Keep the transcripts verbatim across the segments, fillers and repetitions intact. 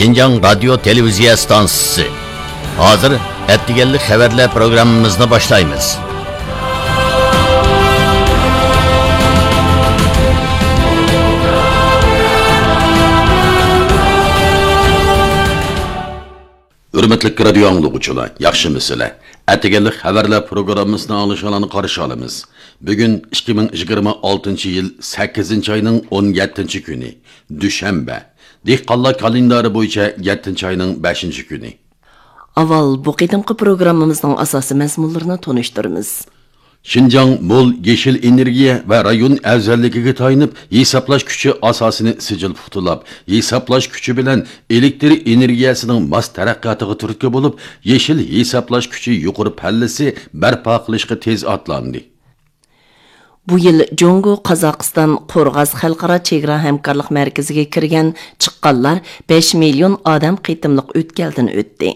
شىنجاڭ رادىيو تېلېۋىزىيە ئىستانسىسى. ھازىر ئەتىگەنلىك خەۋەرلەر پروگراممىمىزنى باشلايمىز. ھۆرمەتلىك رادىيو ئاڭلىغۇچىلار، ياخشىمۇسىلەر؟ ئەتىگەنلىك خەۋەرلەر پروگراممىسىنى ئاڭلىشىڭلارنى قارشى ئالىمىز. بۈگۈن ئىككى مىڭ يىگىرمە ئالتىنچى يىل سەككىزىنچى ئاينىڭ ئون يەتتىنچى كۈنى، دۈشەنبە. دېھقانلار كالېندارى بويىچە يەتتىنچى ئاينىڭ بەشىنچى كۈنى. ئاۋۋال بۇ قېتىمقى پروگراممىمىزنىڭ ئاساسىي مەزمۇنلىرىنى تونۇشتۇرىمىز. شىنجاڭ مول يېشىل ئېنېرگىيە ۋە رايون ئەۋزەللىكىگە تايىنىپ، ھېسابلاش كۈچى ئاساسىنى سىجىل پۇختىلاپ، ھېسابلاش كۈچى بىلەن ئېلېكتر ئېنېرگىيەسىنىڭ ماس تەرەققىياتىغا تۈرتكە بولۇپ، يېشىل ھېسابلاش كۈچى يۇقىرى پەللىسى بەرپا قىلىشقا تېز ئاتلاندى. بۇ يىل جۇڭگو، قازاقىستان، قورغاس خەلقئارا چېگرا ھەمكارلىق مەركىزىگە كىرگەن، چىققانلار بەش مىليون ئادەم قېتىملىق ئۆتكەلدىن ئۆتتى.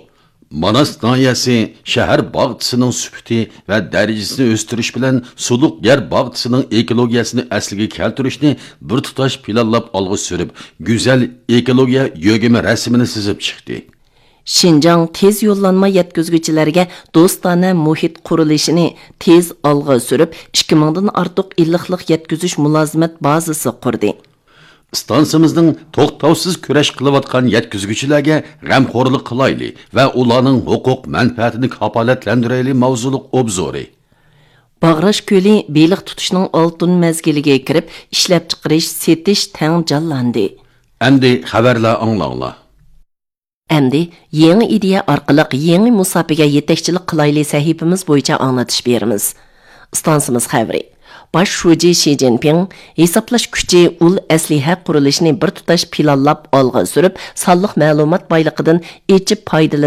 ماناس ناھىيەسى شەھەر باغچىسىنىڭ سۈپىتى ۋە دەرىجىسىنى ئۆستۈرۈش بىلەن سۇلۇق يەر باغچىسىنىڭ ئېكولوگىيەسىنى ئەسلىگە كەلتۈرۈشنى بىر تۇتاش پىلانلاپ ئالغا سۈرۈپ، گۈزەل ئېكولوگىيە يۆگىمە رەسىمىنى سىزىپ چىقتى. شىنجاڭ تېز يوللانما يەتكۈزگۈچىلەرگە دوستانە مۇھىت قۇرۇلۇشىنى تېز ئالغا سۈرۈپ، ئىككى مىڭدىن ئارتۇق ئىللىقلىق يەتكۈزۈش مۇلازىمەت بازىسى قۇردى. ئىستانسىمىزنىڭ توختاۋسىز كۈرەش قىلىۋاتقان يەتكۈزگۈچىلەرگە غەمخورلۇق قىلايلى ۋە ئۇلارنىڭ ھوقۇق مەنپەئەتىنى كاپالەتلەندۈرەيلى ماۋزۇلۇق ئوبزورى. باغراش كۆلى بېلىق تۇتۇشنىڭ ئالتۇن مەزگىلىگە كىرىپ، ئىشلەپچىقىرىش، سېتىش تەڭ جانلاندى. ئەمدى خەۋەرلەر ئاڭلاڭلار. ئەمدى يېڭى ئىدىيە ئارقىلىق يېڭى مۇساپىگە يېتەكچىلىك قىلايلى سەھىپىمىز بويىچە ئاڭلىتىش بېرىمىز. ئىستانسىمىز خەۋىرى. باش شۇجى شى جىنپىڭ ھېسابلاش كۈچى، ئۇل ئەسلىھە قۇرۇلۇشىنى بىر تۇتاش پىلانلاپ ئالغا سۈرۈپ، سانلىق مەلۇمات بايلىقىدىن ئېچىپ پايدىلىنىش